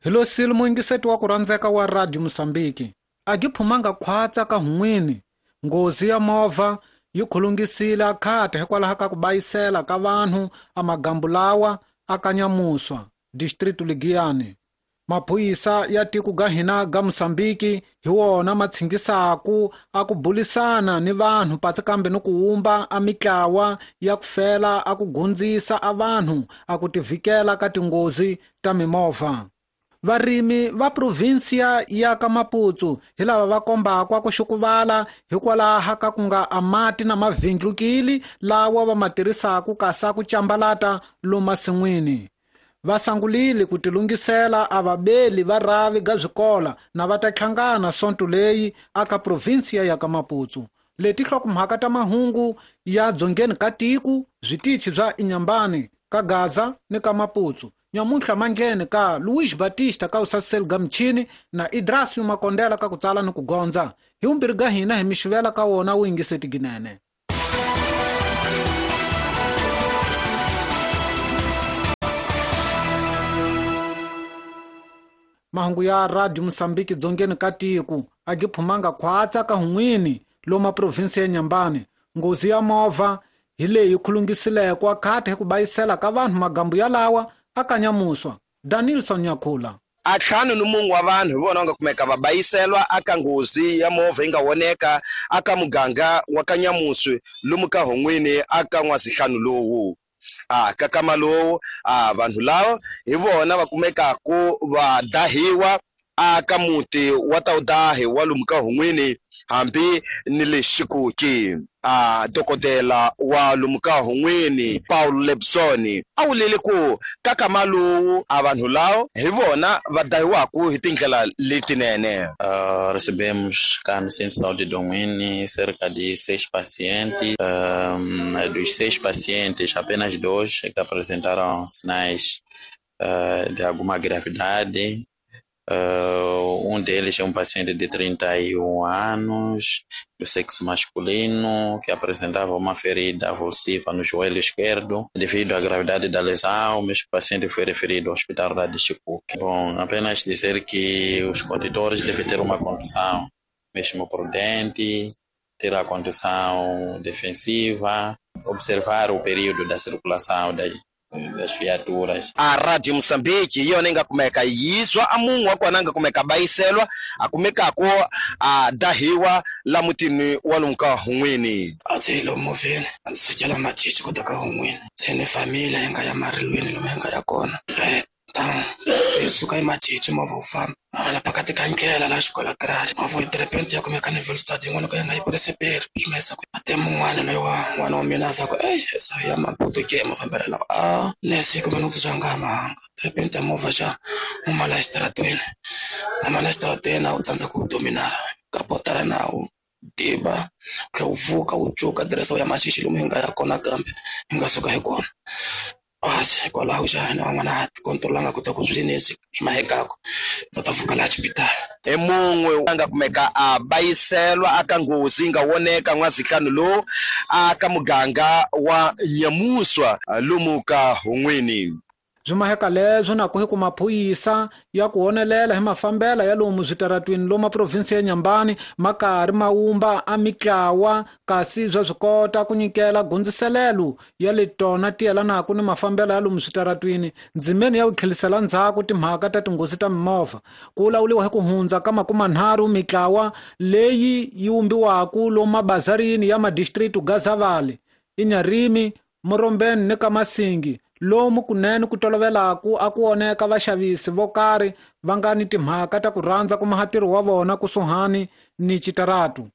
Hi lo sile muyingiseti wa ku rhandzeka wa Radio Mosambiki. A gi phumanga khwatsa ka hun'wini. Nghozi ya movha yi khulungisile akhata hikwalaho ka ku bayisela ka vanhu a magambu lawa a kanyamuswa district Ligiyani. Maphorisa ya tiko ga hina ga Mosambiki hi wona ma tshingisaku a ku bulisana ni vanhu patsi kambe ni ku wumba a mitlawa ya ku fela a ku gundzisa a vanhu a ku tivikela ka tinghozi ta mimovha. Varimi va provinsia ya ka Maputo hi lava va kombaka ku xukuvala hikwalaho ka ku nga a mati na mavhindlukili lawa va ma tirhisaka kasi ku cambalata lomasin'wini. Va sangulile ku tilungisela a vabeli va rhavi ga swikola na va ta hlangana sonto leyi aka provinsia ya ka Maputo. Leti hlokomhaka ta mahungu ya dzongeni ka tiko switichi bya Inhambane ka Gaza ni ka Maputo. Nyamuntlha mandleni ka Luis Batista ka usaseli ga michini na Idrasio Makondela ka ku tsala ni ku gondza. Hi vumbirhi ga hina hi mixivela ka wona wu yingiseti ginene. Mahungu ya Radio Mosambiki dzongeni ka tiko a gi phumanga khwatsa ka hun'wini loma provinsi ya Inhambane. Nghozi ya movha hi leyi khulungisileke akhata hi ku bayisela ka vanhu magambu yalawa a kanyamuswa. Danilson Nyakhula. A ntlhanu ni mun'we wa vanhu hi vona va nga kumeka va bayiselwa aka nghozi ya movha yi nga voneka aka muganga wa Kanyamuswi lomu ka Hon'wini aka N'wazihlanu lowu. A ka kama lowu a vanhu lava hi vona va kumekaku va dahiwa aka muti wa Tawudahi wa lomu ka Hon'wini hambi ni le Xikuki. A dokodela wa lomu ka Hon'wini Paul Lebson a wulile ku ka kama lowu a vanhu lava hi vona va dahiwaku hi tindlela letinene. Recebemos cá no Centro de Saúde de Hon'wini cerca de 6 pacientes. Dos 6 pacientes, apenas 2 é que apresentaram sinais de alguma gravidade. Um deles é um paciente de 31 anos, do sexo masculino, que apresentava uma ferida avulsiva no joelho esquerdo. Devido à gravidade da lesão, o mesmo paciente foi referido ao hospital da Chicuque. Bom, apenas dizer que os condutores devem ter uma condução mesmo prudente, ter a condução defensiva, observar o período da circulação das viaturas. A Radio Mosambiki yona yi nga kumeka yizwa a munhu wa kona a nga kumeka bayiselwa a kumekako a dahiwa la mutini wa lomu ka Hon'wini. A ndzi yi lomu movheni a ndzi sukela Machichi ku ta ka Hon'wini se ni familia yi nga ya marilweni lomu yi nga ya kona. Ta yi suka eMachichi movha wu famba la phakati ka ndlela laha xikola garage movha yi tirepente ya kumeka ni Velstad yin'wana ka yi nga yi pureseperi swi ma ku a te mun'wana loyi wa n'wana wa mina a za ku ey sa ya Maputo ke mafambelo lawa a ne siku mina ku nga mahanga tirepente ya movha xa huma la xitaratweni huma la xitaratweni a wu tsandza ku dominara ka potara nawu tiva tlhe wu pfuka wu cuka diresa ya Machichi lomu hi nga ya kona kambe hi nga suka hi kona. Basi hikwalaho xa hina van'wana ha ti kontrolanga ku ta ku swi leswi swi mahekako va ta pfuka laha xipitali. Hi mun'we a nga kumeka a bayiselwa aka nghozi yi nga voneka N'wazihlanu lowu aka muganga wa Nyamuswa lomu ka Hon'wini. Byi maheka leswo na ku hi ku maphorisa ya ku honelela hi mafambela ya lomu switaratwini lomu provinsi ya Inhambane ma karhi ma wumba a mitlawa kasi swa swi kota ku nyikela gundziselelo ya le tona ti yelanaka ni mafambelo ya lomu switaratwini ndzimeni ya ku tlhelisela ndzhaku timhaka ta tinghozi ta mimovha. Ku vulavuriwa hi ku hundza ka 30 mitlawa leyi yi wumbiwaka lomu mabazarini ya madistrict Gazavale, Inharime, Morombeni ni ka Masingi lomu kunene ku tolovelaku a ku oneka vaxavisi vo karhi va nga ni timhaka ta ku rhandza ku maha ntirho wa vona kusuhani ni xitaratu.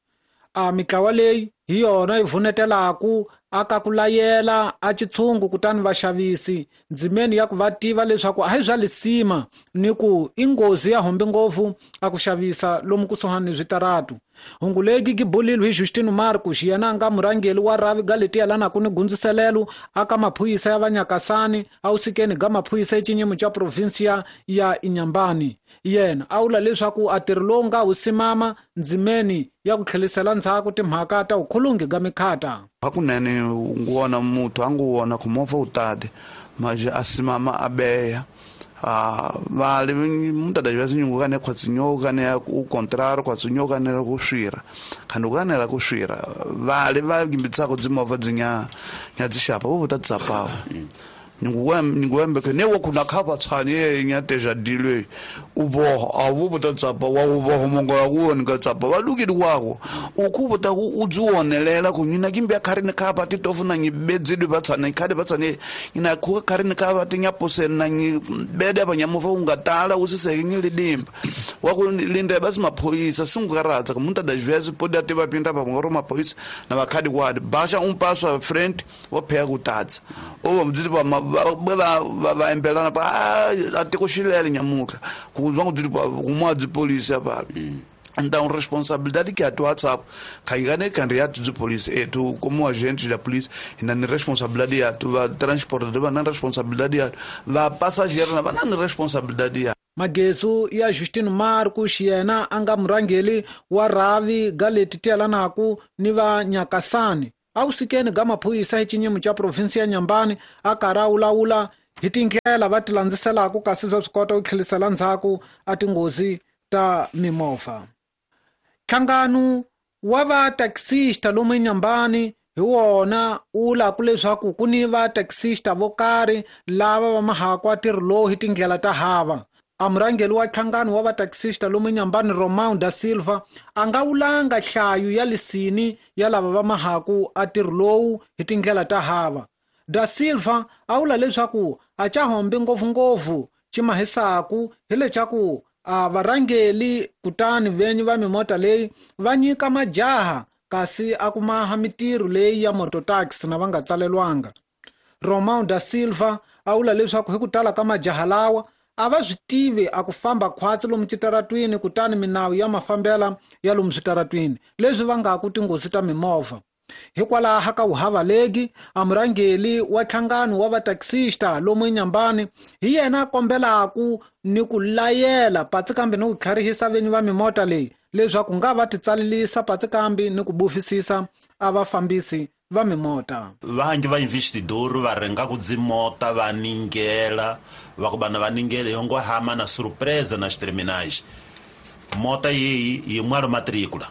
A mitlawa leyi hi yona yi vunetelaku aka ku layela a xitshungu kutani vaxavisi ndzimeni ya ku va tiva leswaku a hi bya lisima ni ku i nghozi ya hombi ngopfu a ku xavisa lomu kusuhani ni switaratu. Hungu leyi gibulilwe hi Justino Marcos yena a nga murhangeri wa rhavi ga leti yelanaka ni gundziselelo aka maphorisa ya vanyakasani a wusikeni ga maphorisa exinyimo xa provinsia ya Inhambane. Yena a vula leswaku a ntirho lowu nga wu simama ndzimeni ya ku tlhelisela ndzhaku timhaka ta vukhulungi ga mikhata. Hakunene wona muthu a ngu wona ku movha wu tati manje a simama a beya Vale muitas das vezes nyungukane khotsinyoka o contrário khotsinyoka ne go swira khando kana la go swira vale va gimbitsa go dzimova dzinya nya dzishapa bo ta tsapa nyunguwembe ke ne wo kuna khapa tshanye nya teja dilwe uboho abo bo ta tsapa wa uboho mongola ku wona tsapa va lukile kwako ukubo ta ku udzionelela ku nyina kimbe kharini khapa ti tofuna ngibedzidwe va tshane khadi va tshane ina ku kharini khapa ti nyapose na ngibede ba nyamuva ungatala usiseke ngilidimba wa ku linde basi maphoyisa singukaradza ku muitas das vezes pode até va pinda pa ngoro maphoyisa na vakhadi kwadi basha um passo à frente wo pega kutadza o mdzidi ba va embelana pa até koxilela nyamuka ku zwa ku kuma de polícia pa então responsabilidade que a tua WhatsApp caigane candidato de polícia e tu como agente da polícia e na responsabilidade ya tu va transportador na responsabilidade ya va passageiro na responsabilidade ya Magezu ya Justino Marcos yena anga murangeli wa ravi galeti telanaku ni va Nyakasani awusikeni ga maphorisa hi xinyimo xa provinsi ya Nyambani a karhi a wulawula hi tindlela va ti landziselaka kasi bya swi kota ku tlhelisela ndzhaku a tinghozi ta mimovha. Nhlangano wa va taxista lomu eNyambani hi wona wu laku leswaku ku ni va taxista vo karhi lava va mahaka ntirho lowu hi tindlela ta hava. A murhangeri wa nhlangano wa va taxista lomu eNyambani Romão da Silva a nga wulanga nhlayo ya lisini ya lava va mahaku a ntirho lowu hi tindlela ta hava. Da Silva a vula leswaku a ca hombi ngopfungopfu ximahisaku hi leswaku a varhangeli kutani venyi va mimota leyi va nyika majaha kasi a ku maha mitirho leyi ya mototaxi na va nga tsalelwanga. Romão da Silva a vula leswaku hi ku tala ka majaha lawa a va swi tivi a ku famba khwatsi lomu switaratwini kutani minawu ya mafambela ya lomu switaratwini leswi vangaku tinghozi ta mimovha. Hikwalaho ka wuhavalegi a murhangeri wa nhlangano wa vataxista lomu eNyambani hi yena a kombelaku ni ku layela patsi kambe ni ku tlharihisa venyi va mimota leyi leswaku nga va titsalelisa patsi kambe ni ku bufisisa a vafambisi va mimota. Vanji va investidor va renga ku dzimota va ningela va ku bana va ningela yongo hama na surpresa nas terminais mota yeyi yi mwalo matricula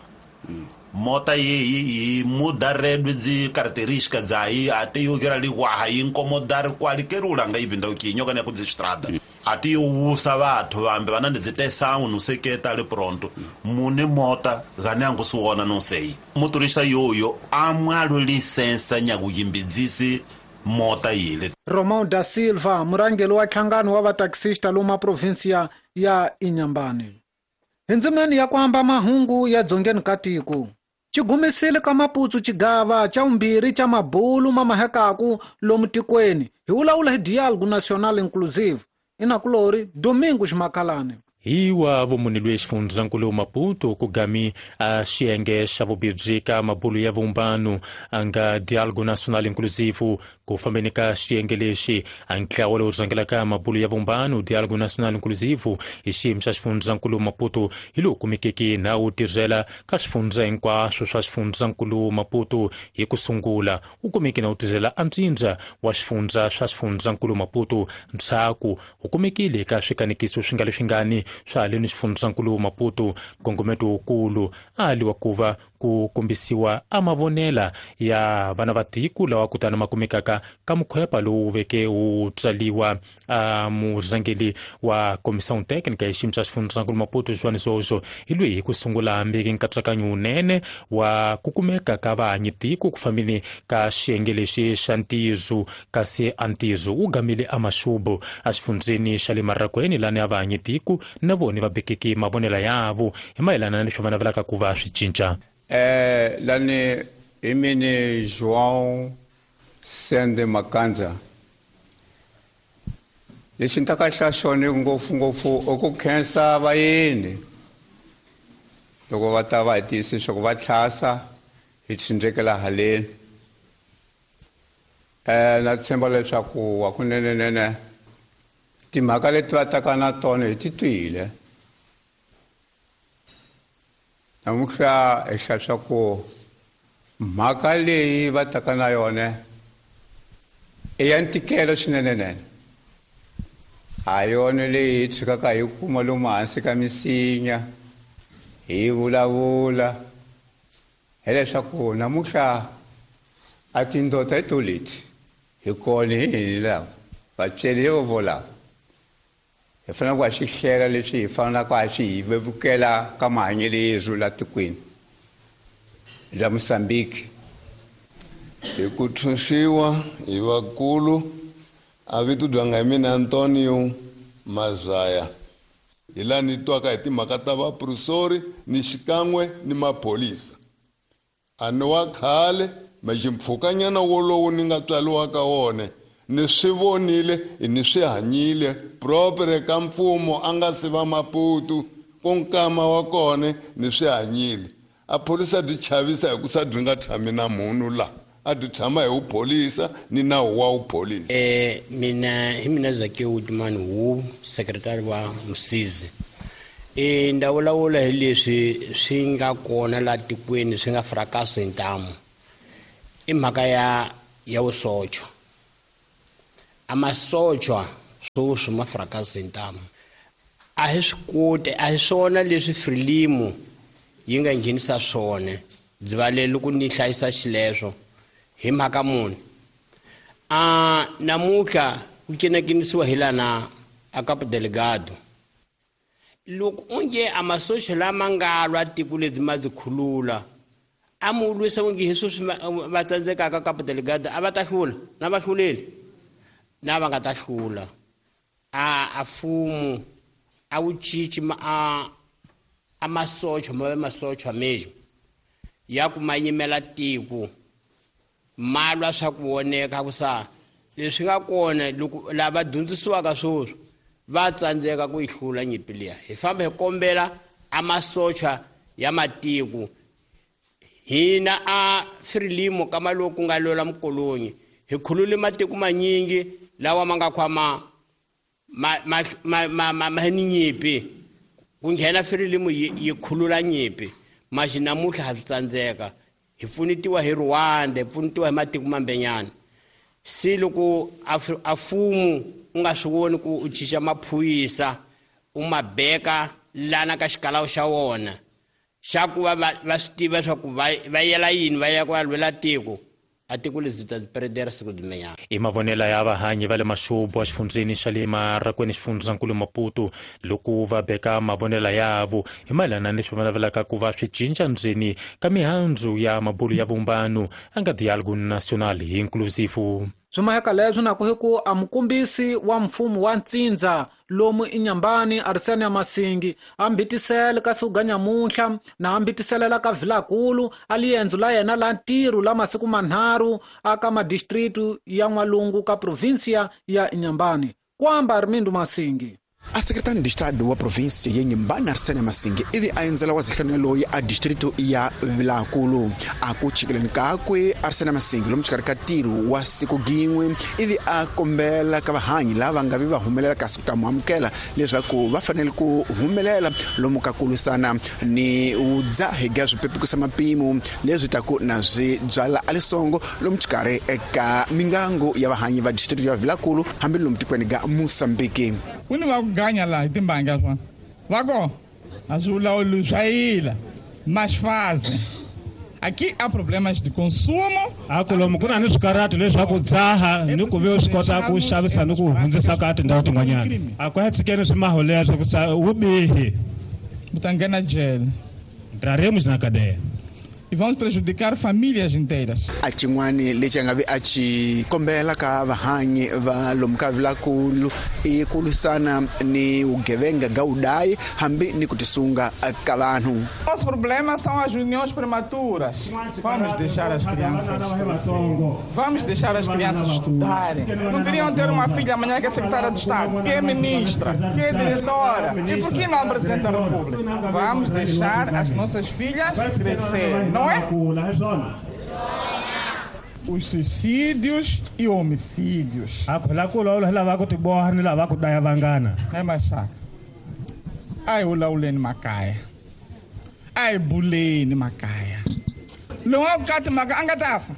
mota yeyi yi muda redwe dzi característica dzayi ate yo gira liwaha yi incomodar qualquer nga ibinda ukinyoka ne ku dzi estrada ate yo wusa vathu vambe vana ndi dzitesau no seketa le pronto mune mota gane angu suona não sei motorista yoyo amwalo licença nyakuyimbidzisi mota yile. Romão da Silva murhangeri wa nhlangano wa vataxista lomu provinsia ya Inhambane. Hi ndzimeni ya ku hamba mahungu ya dzongeni ka tiko xigumisile ka Maputo xigava xa vumbirhi xa mabulu ma mahekaku lomu tikweni hi vulavula hi Diálogo Nacional Inclusive inakulori Domingos Makalane. Hi wa vumunhu lweyi xifundzankulu Maputo ku gami a xiyenge xa vubirhi ka mabulu ya vumbano a nga Diálogo Nacional Inclusive ku fambeni ka xiyenge lexi a ntlawa lowu rhangelaka mabulu ya vumbano Diálogo Nacional Inclusive hi xiyimo xa xifundzankulu Maputo hi lowu kumekeke na wu tirhela ka swifundza hinkwaswo swa xifundzankulu Maputo hi ku sungula wu kumeke na wu tirhela antsindza wa swifundza swa xifundzankulu Maputo ndzhaku wu kumekile ka swikanekiso swi nga leswingani swa le ni xifundzankulu Maputo nkongometo wukulu a liwa kuva ku kombisiwa a mavonela ya vana va tiko lawa kutani ma kumekaka ka mukhwepa lowu veke wu tsaliwa a murhangeri wa comissão técnica ya xiyimo xa xifundzankulu Maputo João Zozo hi loyi hi ku sungula hambiki nkatsakanyo wunene wa ku kumeka ka vahanyi tiko ku fambeni ka xiyenge lexi xa ntiyiso kasi a ntiyiso wu gamile a maxubu a xifundzeni xa le Marrakweni lani a vahanyi tiko na vona va bekeke mavonela yavo hi mayelana na leswi va navelaka ku va swi cinca. Lani imini João Sende Makanza lexi ni ta ka xa xona ngopfungopfu i ku khensa vayeni loko va ta va hi tiyisa leswaku va tlhasa hi tshindrekela haleni. Na tshemba leswaku hakunenenene timhaka leti va taka na tona hi ti twile namuntlha hi hlaya swa ku mhaka leyi va taka na yona i ya ntikelo swinenenene. A yona leyi hi tshikaka hi kuma lomu hansi ka misinya hi vulavula hileswaku namuntlha a tindota hi to leti hi kona hi hini lava vatsweri vo volava hi fanele ku ha swi hlela leswi hi fanelaka ha swi hi vevukela ka mahanyelo yerhu la tikweni la Mozambique. Hi ku thunxiwa hi vakulu a vito dyanga hi mina Antonio Mazaya hi laha ni twaka hi timhaka ta vaprofesori ni xikan'we ni maphorisa a ni wa khale maximpfhukanyana wolowo ni nga tswariwa ka wona ni swi vonile ni swi hanyile propre ka mfumo a nga si va Maputo ku nkama wa kona ni swi hanyile a phorisa byi chavisa hi ku sa byi nga tshami na munhu la a byi tshama hi wupholisa ni nawu wa wupholisa. Mina hi mina Zakiyo Woodman wu sekretari wa Msizi. Nda vulavula hi leswi swi nga kona la tikweni swi nga frakaso hi ntamu i mhaka ya vusocho. A masochwa swoswi ma frakaso hi ntamu a hi swi koti a hi swona leswi Frelimo yi nga nghenisa swona byi valele ku ni hlayisa xileswo hi mhaka muni. A namuntlha ku cinacinisiwa hi lana a Cabo Delgado loko onge a masocha lama nga lwa tiko lebyi ma byi khulula a mu lwisa onge hi sweswi va tsandzekaka Cabo Delgado a va ta hlula na va hluleli na va nga ta hlula. A fumu a wu cinci a masocha ma ve masocha mesmo ya ku ma yimela tiko ma lwa swa ku voneka ku sa leswi nga kona loko lava dyondzisiwaka swoswi va tsandzeka ku yi hlula nyimpi liya. Hi famba hi kombela a masocha ya matiko hina a Frelimo ka maloku nga lwela mukolonyi hi khulule matiko manyingi lawa ma nga khwama ma ni nyimpi ku nghena Frelimo yi khulula nyimpi maxi namuntlha ha swi tsandzeka hi pfunetiwa hi Rwanda hi pfunetiwa hi matiko mambenyana. Se loko a fumu u nga swi voni ku u cinca maphorisa u ma beka lana ka xikalawu xa wona xa ku va va swi tiva swa ku va yela yini va ya ku va lwela tiko a tiko lebyi ta peredera siku limenyana. I mavonelo ya vahanyi va le Maxubu exifundzheni xa le Marakweni xifundzankulu Maputo loko va beka mavonelo yavo hi mayelana ni leswi va navelaka ku va swi cinca ndzeni ka mihandzu ya mabulu ya vumbano a nga Dialogue National Inclusive. Swimaheka leswi na ku hi ku a mukombisi wa mfumo wa ntsindza lomu inyambani Arsenia Masingi a mbitisele ka siku ga nyamuntlha na a mbitiselela ka Vilakulu a liendzo la yena la ntirho la masiku manharhu aka madistritu ya N'walungu ka provinsia ya Inhambane. Kwamba Armindo Masingi. A secretário de Estado wa província ya Inhambane Arsênio Masingi ivi a endzela wa zihlanu loyi a distrito ya Vilakulu a ku chikeleni kakwe Arsênio Masingi lomu xikarhi ka ntirho wa siku gin'we ivi a kombela ka vahanyi lava nga vi va humelela kasi ku ta mu amukela leswaku va fanele ku humelela lomu ka ku lwisana ni vudzahi bya swipepukisa mapimo leswi taku na swi byala a lisongo lomu xikarhi eka mingangu ya vahanyi va distrito ya Vilakulu hambi lomu tikweni ga Mozambique. Ku ni va ku ganya laha hi timbanga swona va ko a swi vulavuli swa yila mas fazem aqui há problemas de consumo a ku lomu ku na ni swikaratu leswaku dzaha ni ku ve swi kota ku xavisa ni ku hundzisa ka tindhawu tin'wanyana a ku ya tshikeni swimaho leswo ku sa vubihi u ta nghena jele entraremos na cadeia e vamos prejudicar famílias inteiras. A xin'wani lexi a nga vi a xi kombela ka vahanyi va lomu ka Vilakulu i ku lwisana ni vugevenga ga vudayi hambi ni ku tisunga ka vanhu. Nosso problema são as uniões prematuras. Vamos deixar as crianças. Vamos deixar as crianças estudarem. Não queriam ter uma filha amanhã que é secretária de Estado, que é ministra, que é diretora. E por que não presidente da República? Vamos deixar as nossas filhas crescer. Não é? Os suicídios e homicídios. É machaka. Ai ulauleni makaya. Ai buleni makaya. Lowu kati maka anga tafa.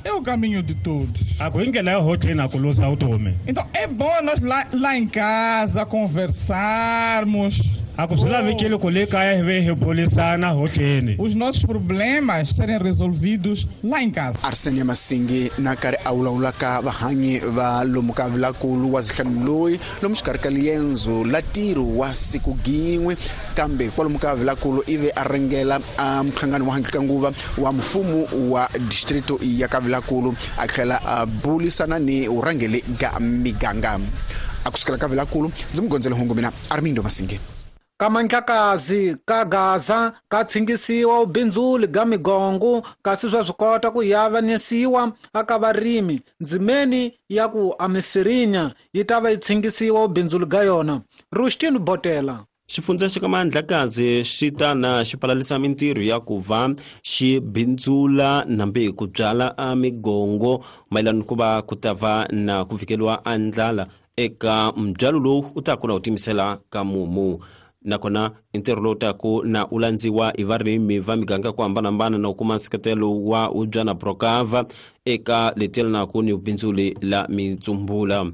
É o caminho de todos. A ku hi ndlela yo hotleni a ku luza vutomi. Então é bom nós lá em casa conversarmos. A ku swi lavekile ku le kaya hi ve hi burisana hotleni. Os nossos problemas serem resolvidos lá em casa. Arsenia Masingi na karhi a vulavula ka vahanyi va lomu ka Vilakulu wa zihlanu loyi lomu xikarhi ka liendzo la ntirho wa siku gin'we, kambe kwalomu ka Vilakulu ivi a ringela a muhlangano wa handle ka nguva wa mfumo wa distrito ya ka Vilakulu, a tlhela a bulisana ni vurhangeri ga miganga. A kusukela ka Vilakulu ndzi mugondzela hungu mina Armindo Masingi. Ka Mandlakazi ka Gaza ka tshingisiwa ubindzuli ga migongo, kasi swa swi kota ku yavanisiwa aka varimi. Ndzimeni ya ku amifirinya yi ta va yi tshingisiwa ubindzuli ga yona. Rushtini Botela. Xifundza xa ka Mandlakazi xi ta na xi palalisa mintirho ya ku va xi bindzula nambe ku byala a migongo mayelana ku va ku ta va na ku fikeliwa a ndlala eka mbyalo lowu u ta ku na u timisela ka mumu. Nakona ntirho lowu taku na u landziwa hi varimi va miganga ku hambanahambana na u kuma nseketelo wa ubyana Procava eka leti ni bindzuli la mitsumbula.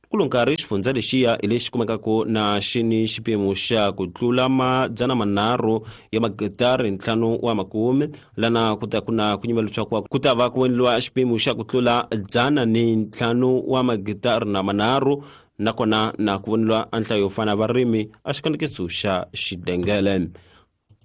Kulo nkarhi xifundza lexiya hi lexi kumekaka na xi ni xipimo xa ku tlula 350 ya magitari 50 lana ku ta ku na ku nyima leswaku ku ta va ku endliwa xipimo xa ku tlula 105 wa magitari na 3 nakona na ku voniwa a nhlayo yo fana varimi a xikanekiso xa xidengele.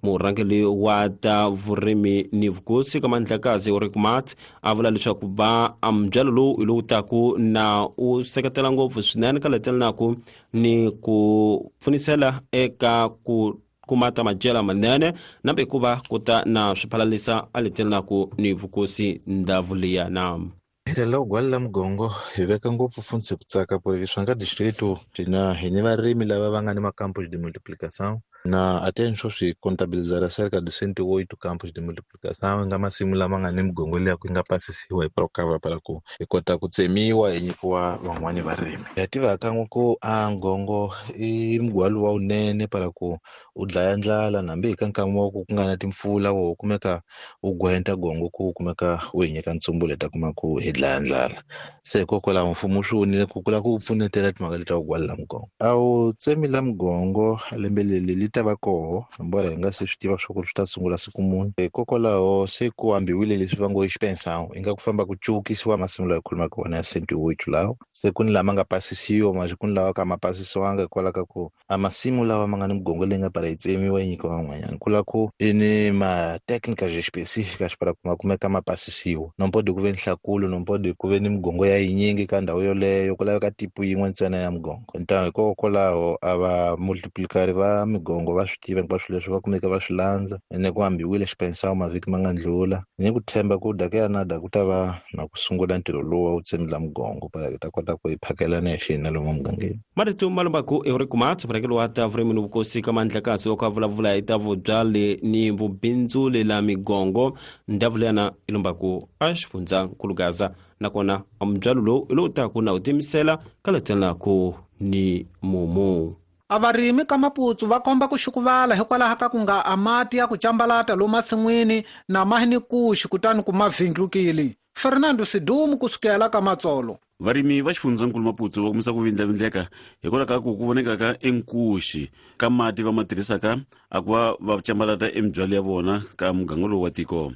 Murhangeri wa ta vurimi ni vukosi ka Mandlakazi Ulrich Mat a vula leswaku va mbyalo lowu hi lowu taku na u seketela ngopfu swinene ka letelanaku ni ku pfunisela eka ku kuma ta madyela manene nambe ku va ku ta na swiphalalisa a letelanaku ni vukosi ndhavu liya na. Hi gwala mugongo hi veka ngopfu fundzi ku tsaka por swa nga distrito na hi ni varimi lava va nga ni macampos de multiplicação na até swi contabilizar cerca de 108 campos de multiplicação nga masimu lama nga ni migongo liya ku nga pasisiwa hi Procava para ku hi kota ku tsemiwa hi nyikiwa van'wani varimi. Ya tiva kan'we ku a ngongo i mugwalo wa wunene para ku u dlaya ndlala nambi hi ka nkama wa ku ku nga na timpfula wo kumeka u gwenta gongo ku kumeka u hi nyika ntsumbu leta kuma ku hi dlaya ndlala. Se hikokwalaho mfumo swi vonile ku kula ku pfunetela timhaka leta ku gwala mugongo. A wu tsemi la mugongo lembe leri li ta va koho mbora hi nga se swi tiva swa ku swi ta sungula siku muni. Hikokwalaho se ku ambiwile leswi va ngo i xipensão i nga ku famba ku cukisiwa masimu lawa hi khulumaka wona ya 108 lawa se ku ni lama nga pasisiwa mas ku ni lawa ka ma pasisiwanga hikwalaho ka ku a masimu lawa ma nga ni migongo leyi nga para yi tsemiwa yi nyikiwa van'wanyana ku la ku i ni ma-técnicas específicas para ku ma kumeka ma pasisiwa. No pode ku ve ni nhlakulo, no pode ku ve ni migongo ya yinyingi ka ndhawu yoleyo ku laveka tipo yin'we ntsena ya migongo. Então hikokwalaho a va multiplicari va migongo va swi tiva hinkwaswo leswi va kumeka va swi landza ene ku ambiwile xipensão mavhiki ma nga ndlula ni ku tshemba ku daka na da ku ta va na ku sungula ntirho lowu wa ku tsemela mugongo para hi ta kota ku hi phakelana hi xina lomu mugangeni. Marito malombaku Ulrich Mat murhangeri wa ta vurimi ni vukosi ka Mandlakazi wa ku vulavula hi ta vubyali ni vubindzuli la migongo ndhavu leyana i lombaku a xifundzankulu Gaza nakona mbyalo lowu hi lowu taku na u timisela ka letelanaku ni mumu. A varimi ka Maputsu va komba ku xukuvala hikwalaho ka ku nga a mati ya ku cambalata lomu masin'wini na mahi ni kuxi kutani ku ma vindlukile. Fernando Sidumu kusukela ka Matsolo. Varimi va xifundzankulu Maputsu va kumisa ku vindlavindleka hikwalaho ka ku voneka ka enkuxi ka mati va ma tirhisaka a ku va va cambalata emibyalo ya vona ka muganga lowu wa tiko.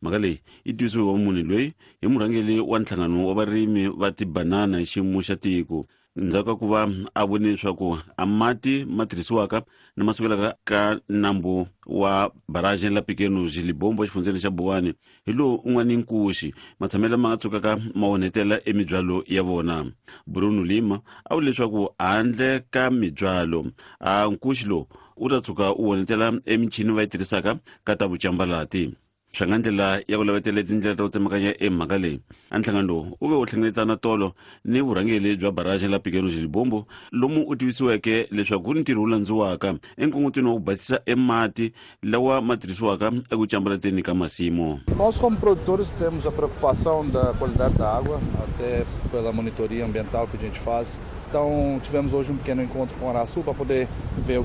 Mhaka leyi yi tivisiwe wa munhu loyi hi murhangeri wa nhlangano wa varimi va tibanana hi xiyimo xa tiko ndzhaku ka ku va a vone leswaku a mati ma tirhisiwaka na ma sukelaka ka nambu wa barragem la Pequenos Libombo exifundzeni xa Buwani hi lowu u nga ni nkuxi matshamelo lama nga tsukaka ma onhetela emibyalo ya vona. Bruno Lima a vule leswaku handle ka mibyalo a nkuxi lowu u ta tshuka u onhetela emichini va yi tirhisaka ka ta vucambalati. Swa nga ndlela ya ku lavetela tindlela ta ku tsemakanya emhaka leyi a nhlangano lowu u ve u hlengeletana tolo ni vurhangeri bya barragem la Pequenos Libombo lomu u tivisiweke leswaku ku ni ntirho wu landziwaka enkungutweni wa ku basisa emati lawa ma tirhisiwaka eku cambalateni ka masimu. Nós como produtores temos a preocupação da qualidade da água, até pela monitoria ambiental que a gente faz. Então tivemos hoje um pequeno encontro com o Araçu para poder ver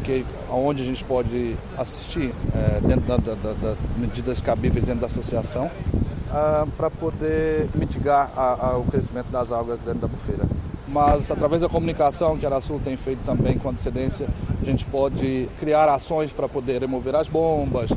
aonde a gente pode assistir dentro das medidas cabíveis dentro da associação. para poder mitigar o crescimento das algas dentro da bufeira. Mas através da comunicação que a Arasul tem feito também com antecedência, a gente pode criar ações para poder remover as bombas,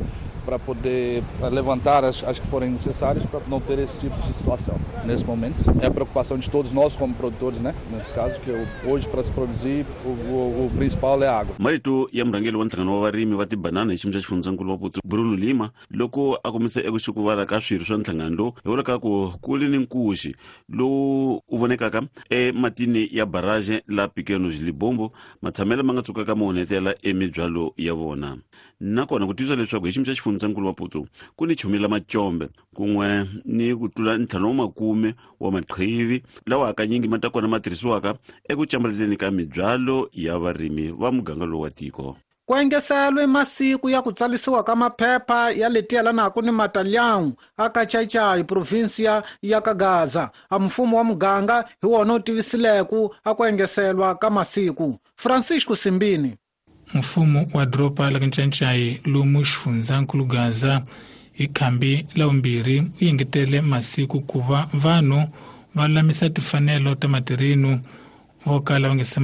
para poder levantar as que forem necessárias para não ter esse tipo de situação. Nesse momento, é a preocupação de todos nós como produtores, né? Nesse caso, que hoje para se produzir, o principal é a água. Marito ya murhangeri wa nhlangano wa varimi va tibanana hi xiyimo xa xifundzankulu wa Maputo Bruno Lima loko a kombisa eku xukuvala ka swirho swa nhlangano lowu hi vula ka ku ku li ni nkuxi lowu wu vonekaka ematini ya barrage la Pequenos Libombo matshamelo ma nga tsukaka ma onhetela emibyalo ya vona. Nakona ku tiyisa leswaku hi xiyimo xa xifundzankulu Maputo ku ni chumi la macombe kun'we ni ku tlula 50 wa maqhivi lawa hakanyingi ma ta kona ma tirhisiwaka eku cambaleteni ka mibyalo ya varimi va muganga lowu wa tiko. Ku engeselwe masiku ya ku tsalisiwa ka maphepha ya leti yelanaka ni Matalhão aka Xai-Xai provinsia ya ka Gaza. A mfumo wa muganga hi wona wu tivisileku a ku engeselwa ka masiku. Francisco Simbini. Mfumo wa doroba la Ncancai lomu xifundzankulu Gaza hi khambi la vumbirhi wu engetele masiku ku va vanhu va lulamisa timfanelo ta matirhino vo kala va nga se